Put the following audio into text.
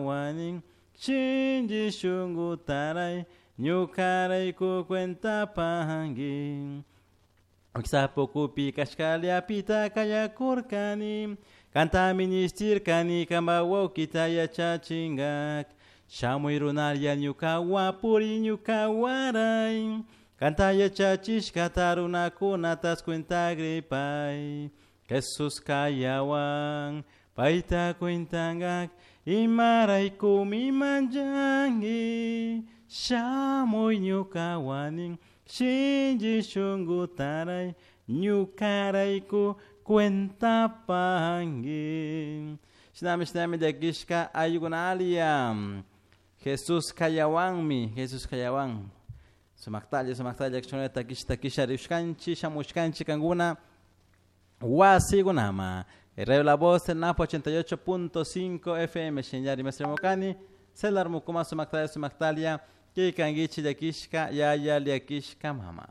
Ñukawanin shinchi shunkutaray ñukarayku cuentapanki. Sapokupi kashkallapita kayakurkani kanta ministirkani kanpa wawkita yachachinkak shamuy runalla ñukawa puri ñukawaray kanta yachachishkata runakunatas cuentagripay Jesus kayawan payta cuentankak imaraykumi manchanki shamuy ñukawanin shinchi shunkutaray ñukarayku cuentapanki. Shinami shinami llakishka ayukunalia Jesus kayawanmi Jesus kayawan sumaktalla sumaktalla kishunata takisha takisha rishkanchi shamushkanchi kankuna wasikunama. Radio La Voz el Napo 88.5 FM Shinyari Mesremokani Celar Mukuma sumaktalla sumaktalia Kikangichi llakishka yaya llakishka mama.